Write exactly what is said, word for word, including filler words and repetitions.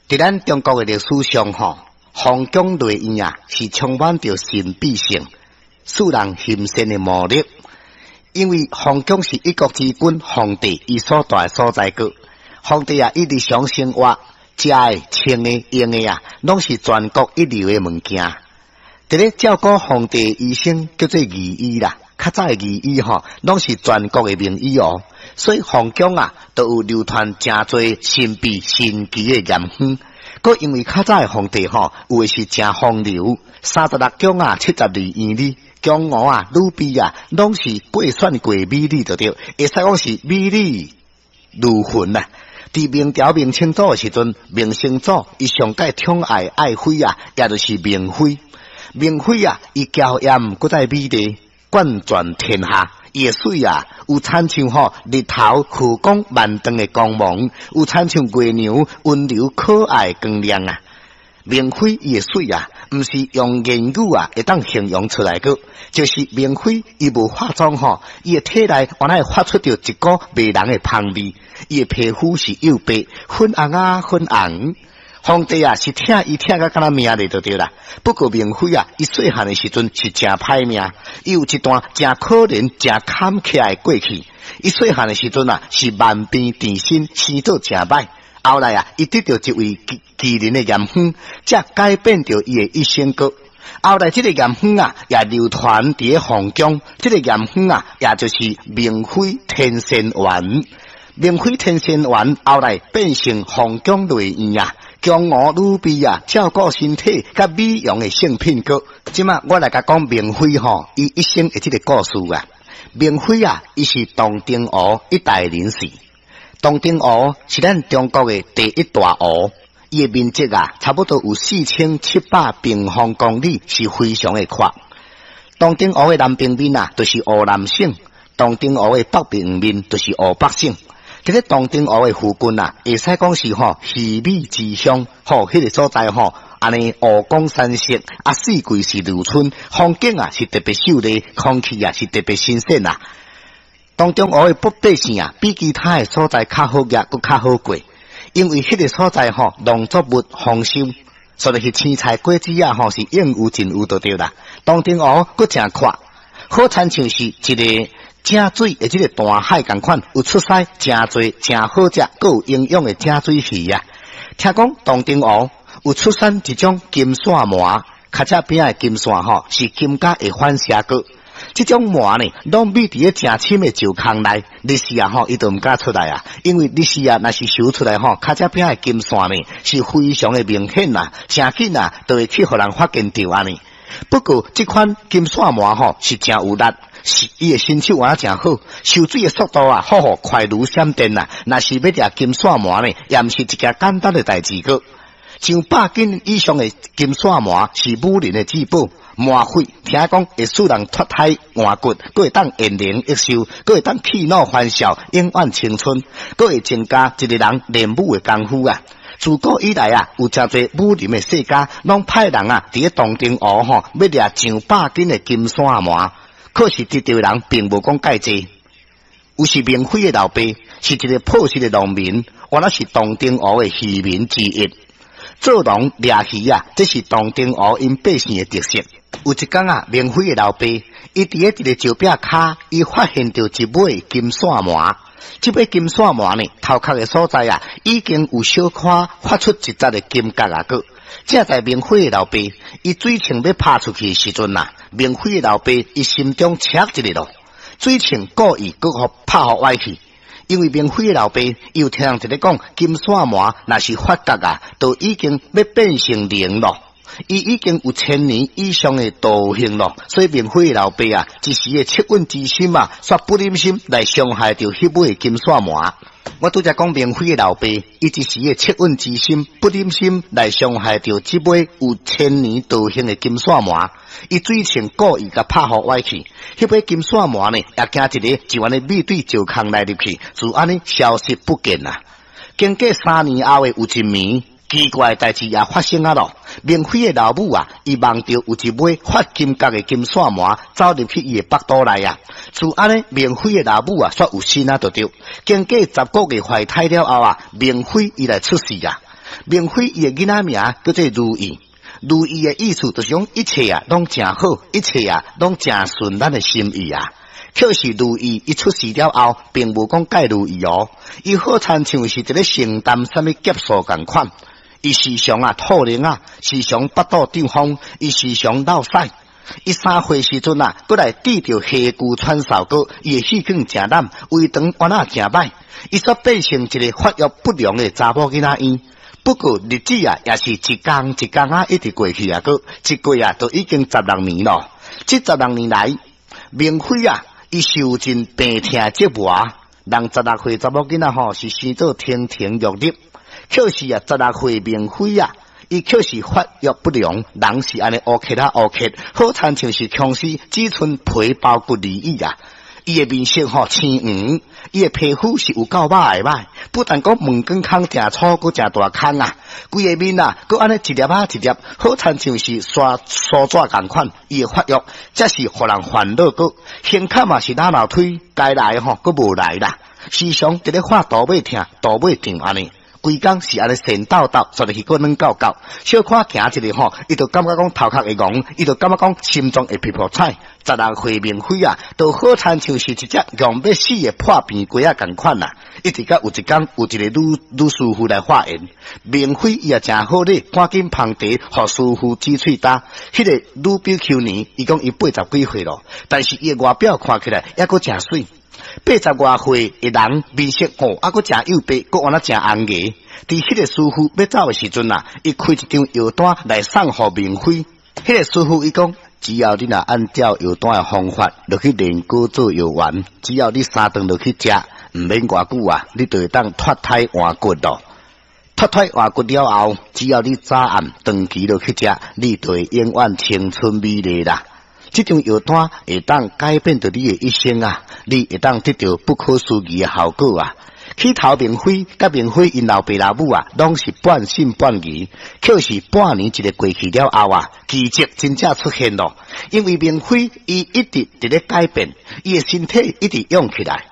佇咱中國的歷史上吼，皇宮內院啊，是充滿著神秘性、使人欣羨的魔力。因為皇宮是一國之君皇帝伊所蹛的所在閣，皇帝啊，伊日常生活食的、穿的、用的啊，攏是全國一流的物件。佇咧照顧皇帝的醫生叫做御醫啦，較早的御醫吼，攏是全國的名醫哦。所以皇宮啊，都有流傳誠濟神秘神奇的驗方。閣因為較早的皇帝吼，有的是誠風流，三十六宮啊，七十二院裡，宮娥啊、女婢啊，攏是過選過美女就對，會使講是美女如雲啊。佇明朝明成祖的時陣，明成祖伊上蓋寵愛愛妃啊，也就是明妃。明妃啊，伊嬌豔閣再美麗，冠全天下。伊的媠啊，有親像吼日頭和光萬丈的光芒，有親像月娘溫柔可愛的光亮啊。明妃伊的媠啊，毋是用言語啊會當形容出來閣，就是明妃伊無化妝吼，伊的體內原來會發出著一股迷人的芳味。伊的皮膚是幼白，粉紅啊粉紅。皇帝啊，是疼伊疼甲敢若命咧就對啦。不過明妃啊，伊細漢的時陣是誠歹命，伊有一段誠可憐、誠坎坷的過去。伊細漢的時陣啊，是萬病纏身，生做誠歹。後來啊，伊得著一位奇奇人的驗方，才改變著伊的一生閣。後來這個驗方啊，也流傳佇咧皇宮。這個驗方啊，也就是明妃天仙丸。明妃天仙丸後來變成皇宮內院啊，宮娥女婢啊，照顧身體佮美容的聖品閣。這馬我來共講明妃吼，伊一生的這個故事啊。明妃啊，伊是洞庭湖一帶人士。洞庭湖是咱中國的第一大湖，伊的面積啊，差不多有四千七百平方公里，是非常的闊。洞庭湖的南邊面啊，就是湖南省；洞庭湖的北邊面就是湖北省。佇咧洞庭湖的附近啊，會使講是吼魚米之鄉，吼，彼個所在吼，按呢湖光山色，啊四季是如春，風景啊是特別秀麗，空氣啊是特別新鮮啊。洞庭湖的百百姓啊，比其他的所在較好額，閣較好過，因為彼個所在吼農作物豐收，所以是青菜果子啊吼是應有盡有就對啦。洞庭湖閣誠闊，好親像是一个井水的這个大海仝款，有出產誠濟誠好食、閣有營養的井水魚啊！聽講洞庭湖有出產一種金線鰻，跤脊餅的金線吼是金甲會反射閣。這種鰻呢，攏覕佇咧誠深的石空內，日時啊吼，伊就毋敢出來啊，因為日時啊，若是泅出來吼，跤脊餅的金線呢，是非常的明顯啊，誠緊啊，就會去予人發現著按呢。不過這款金線鰻吼是誠有力。是伊的身手也誠好，泅水的速度啊，好予快如閃電啊！若是欲掠金線鰻呢，也毋是一件簡單的代誌閣。上百斤以上的金線鰻是武林的至寶，鰻血聽講會使人脫胎換骨，閣會當延年益壽，閣會當去老還少，永遠青春，閣會增加一個人練武的功夫啊！自古以來啊，有誠濟武林的世家，攏派人啊，佇咧洞庭湖吼，欲掠上百斤的金線鰻。可是得著的人並無講蓋濟，有是明妃的老爸，是一個樸實的農民，原來是洞庭湖的漁民之一。做農掠魚啊，這是洞庭湖𪜶百姓的特色。有一工啊，明妃的老爸，伊佇咧一个石壁跤，伊發現著一尾金線鰻。這尾金線鰻呢，頭殼的所在啊，已經有小可發出一節的金角啊閣。正在明妃的老爸，伊水銃欲拍出去的時陣啊，明妃的老爸伊心中捙一下囉，水銃故意閣予拍予歪去，因為明妃的老爸伊有聽人佇咧講，金線鰻若是發覺啊，就已經欲變成靈囉，伊已經有千年以上的道行囉，所以明妃的老爸啊，一時的惻隱之心啊，煞不忍心來傷害著彼尾金線鰻。我拄才講明妃的老爸，伊一時的惻隱之心，不忍心來傷害著這尾有千年道行的金線鰻，伊水銃故意共拍予歪去，彼尾金線鰻呢，也驚一下就按呢覕對石空內入去，就按呢消失不見啦。經過三年後的有一暝，奇怪的代誌也發生啊囉。明妃的老母啊，伊夢著有一尾發金角的金線鰻走入去伊的腹肚內啊。自按呢，明妃的老母啊，煞有身啊，就著。經過十個月懷胎了後啊，明妃伊來出世啊。明妃伊的囡仔名叫做如意，如意的意思就是講一切啊，攏誠好，一切啊，攏誠順咱的心意啊。可是如意伊出世了後，並無講蓋如意哦，伊好親像是佇咧承擔啥物劫數仝款。伊時常啊吐奶啊，時常腹肚脹風，伊時常落屎。伊三歲時陣啊，閣來得著氣龜喘嗽閣，伊的氣管誠濫，胃腸原來誠歹，伊煞變成一个發育不良的查某囡仔嬰。不過日子啊，也是一工一工啊，一直過去啊，閣一過啊，都已經十六年咯。這十六年來，明妃啊，伊受盡病痛折磨。人十六歲查某囡仔吼，是生做亭亭玉立，可是啊，十六歲明妃啊，伊卻是發育不良，人是按呢烏克啊烏克，好親像是僵屍，只賰皮包骨而已啊！伊的面色吼青黃，伊的皮膚是有夠歹的歹，不但講毛管孔誠粗，閣誠大孔啊！規个面啊，閣按呢一粒仔一粒，好親像是刷梳紙仝款。伊的發育，才是予人煩惱閣，胸口嘛是哪樓推，該來吼閣無來啦，時常佇咧發肚尾疼，肚尾脹按呢。規工是按呢神抖抖，煞入去閣軟夠夠，小可行一下吼，伊就感覺講頭殼會戇，伊就感覺講心臟會噗噗賁。十六歲明妃啊，都好親像是一隻戇欲死的破病雞仔仝款啊！一直到有一工，有一個女女師傅來化緣，明妃伊也誠好禮，趕緊捧茶，予師傅指喙焦。彼个女比丘尼，伊講伊八十幾歲咯，但是伊的外表看起來猶閣誠媠。八十外歲的人面色吼，猶閣誠幼白，閣按呢誠紅牙。佇彼個師傅欲走的時陣啊，伊開一張藥單來送予明妃。彼個師傅伊講，只要你若按照藥單的方法落去煉膏做藥丸，只要你三頓落去食，毋免偌久啊，你就會當脫胎換骨咯。脫胎換骨了後，只要你早暗長期落去食，你就會永遠青春美麗啦。這張藥單會當改變著你的一生啊！你會當得著不可思議的效果啊！起頭明妃佮明妃𪜶老爸老母啊，攏是半信半疑。可是半年一个過去了後啊，奇蹟真正出現咯。因為明妃伊一直佇咧改變，伊的身體一直養起來。